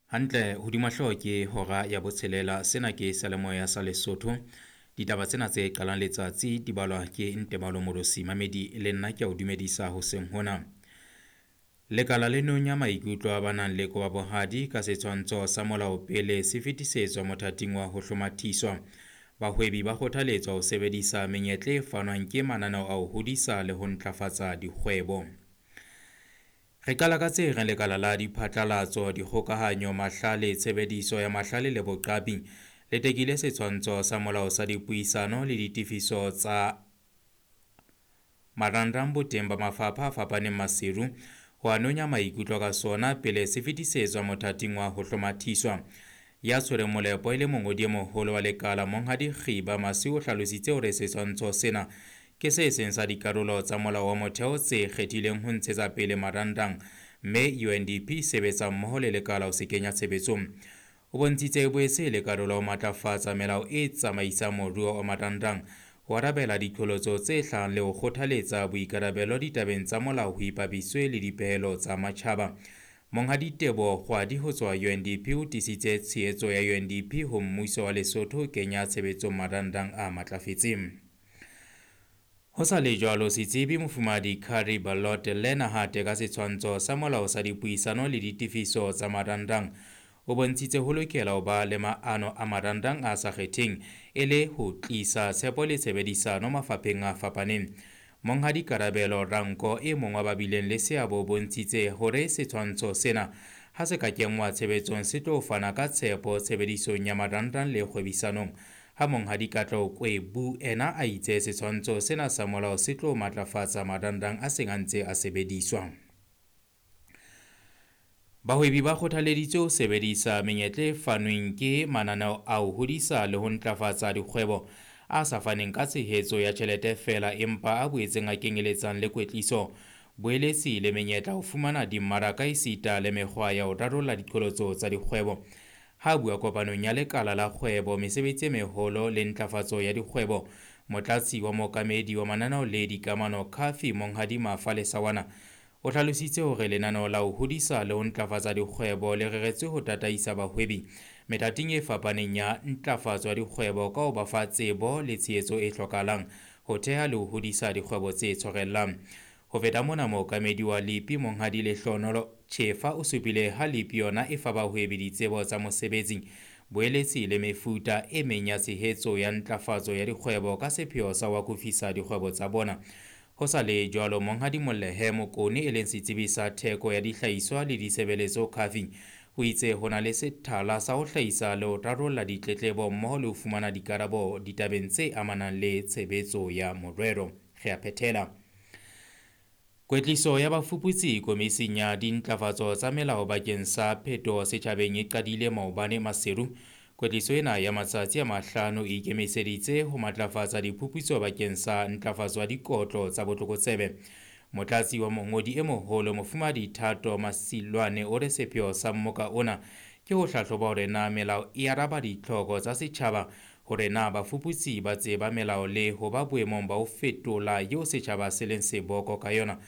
Hantle hodima hlooho ke hora ya botshelela. Sena ke seyalemoya sa Lesotho. Ditaba tsena tse qalang letsatsi di balwa ke Ntebalo Morosi. Mamedi le nna ke a o dumedisa hoseng hona. Lekala le nonya maikutlo a ba nang le kobabohadi ka setshwantsho sa molao pele se fetisetswa mothating wa ho hlomathiswa. Bahwebi ba kgothaletswa ho sebedisa menyetla e fanwang ke mananeo a ho hodisa le ho ntlafatsa dikgwebo. Re qala ka tse reng lekala la diphatlalatso, dikgokahanyo, mahlale, tshebediso ya mahlale le boqapi le tekile setshwantsho sa molao sa dipuisano le ditefiso tsa marangrang boteng ba mafapha a fapaneng Maseru ho a nonya maikutlo ka sona pele se fetisetswa mothating wa ho hlomathiswa. Ya tshwereng molepo e le mongodi e moholo wa lekala Monghadi Kgiba Masiu o hlalositse hore setshwantsho sena ke se seng sa dikarolo tsa molao wa motheo tse kgethileng ho ntshetsa pele marangrang, mme UNDP e sebetsa mmoho le lekala ho se kenya tshebetsong. O bontshitse e boetse e le karolo ya ho matlafatsa melao e tsamaisang moruo wa marangrang, ho arabela diqholotso tse hlahang le ho kgothaletsa boikarabelo ditabeng tsa molao ho ipapiswe le dipehelo tsa matjhaba. Monghadi Teboho Kgwadi ho tswa UNDP o tiisitse tshehetso ya UNDP ho mmuso wa Lesotho ho kenya tshebetsong marangrang a matlafetseng. Ho sa le jwalo, setsebi Mofumahadi Curry Ballot Lena hate ka setshwantsho sa molao sa dipuisano le ditefiso tsa marangrang o bontshitse ho lokela ho ba le maano a marangrang a sa kgetheng e le ho tlisa tshepo le tshebedisano mafapheng a fapaneng. Monghadi Karabelo Ranko e mong wa ba bileng le seabo o bontshitse hore setshwantsho sena ha se ka kenngwa tshebetsong se tlo fana ka tshepo tshebedisong ya marangrang le kgwebisanong. Ha Monghadi Katleho Kwebu ena a itse setshwantsho sena sa molao se tlo matlafatsa marangrang a seng a ntse a sebediswa. Bahwebi ba kgothaleditswe ho sebedisa menyetla e fanweng ke mananeo a ho hodisa le ho ntlafatsa dikgwebo a sa faneng ka tshehetso ya tjhelete feela empa a boetseng a kenyeletsang le kwetliso, boeletsi le menyetla ho fumana dimmaraka esita le mekgwa ya ho rarolla diqholotso tsa dikgwebo. Ha bua kopanong ya lekala la kgwebo, mesebetsi e meholo le ntlafatso ya dikgwebo, motlatsi wa mookamedi wa mananeo le dikamano CAFI Monghadi Mafa Lesawana o hlalositse hore lenaneo la ho hodisa le ho ntlafatsa dikgwebo le reretswe ho tataisa bahwebi methating e fapaneng ya ntlafatso ya dikgwebo ka ho ba fa tsebo le tshehetso e hlokahalang ho theha le ho hodisa dikgwebo tse tshwarellang. Ho feta mona, mookamedi wa LEAP Monghadi Lehlohonolo Chefa o supile ha LEAP yona e fa bahwebi ditsebo tsa mosebetsi, boeletsi le mefuta e meng ya tshehetso ya ntlafatso ya dikgwebo ka sepheo sa ho akofisa dikgwebo tsa bona. Ho sa le jwalo, Monghadi Molehe Mokone e leng setsebi sa theko ya dihlahiswa le ditshebeletso CAFI o itse ho na le sethala sa ho hlahisa le ho rarolla ditletlebo mmoho le ho fumana dikarabo ditabeng tse amanang le tshebetso ya morero. Re a phethela. Kwetliso ya bafuputsi komising ya dintlafatso tsa melao bakeng sa phetoho setjhabeng e qadile maobane Maseru. Kwetliso ena ya matsatsi a mahlano e ikemiseditse ho matlafatsa diphuputso bakeng sa ntlafatso ya dikotlo tsa botlokotsebe. Motlatsi wa mongodi e moholo Mofumahadi Thato Masilwane o re sepheo sa mmoka ona ke ho hlahloba hore na melao e araba ditlhoko tsa setjhaba, hore na bafuputsi ba tseba melao le ho ba boemong ba ho fetola eo setjhaba se leng seboko ka yona.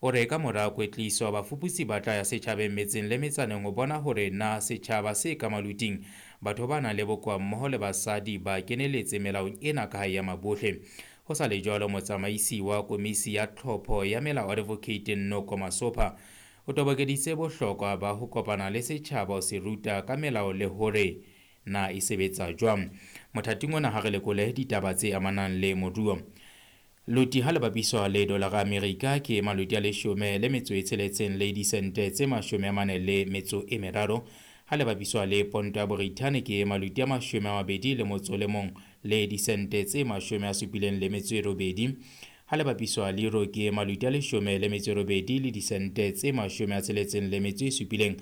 O re ka mora kwetliso bafuputsi ba tla ya setjhabeng metseng le metsaneng ho bona hore na setjhaba se ka maluting, batho ba nang le bokowa mmoho le basadi ba keneletse melaong ena ka hae ya mabohle. Ho sa le jwalo, motsamaisi wa komisi ya tlhopho ya melao Advocate Nnoko Masopha o tobokeditse bohlokwa ba ho kopana le setjhaba ho se ruta ka melao le hore na e sebetsa jwang. Mothating ona ha re lekole ditaba tse amanang le moruo. Loti ha le bapiswa le dolara Amerika ke maloti a 16 le disente tse 43. Ha le bapiswa le ponto ya Borithane ke maloti a 21 le disente tse 78. Ha le bapiswa le euro ke maloti a 18 le disente tse 67.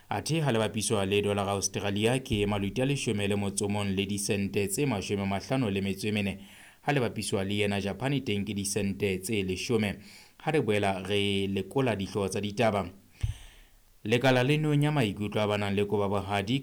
Athe ha le bapiswa le dolara Australia ke maloti a 11 le disente tse 54. Ha le bapiswa le yena Japan teng ke disente tse 10. Ha re boela re lekola dihlooho tsa ditaba. Lekala le nonya maikutlo a ba nang le kobabohadi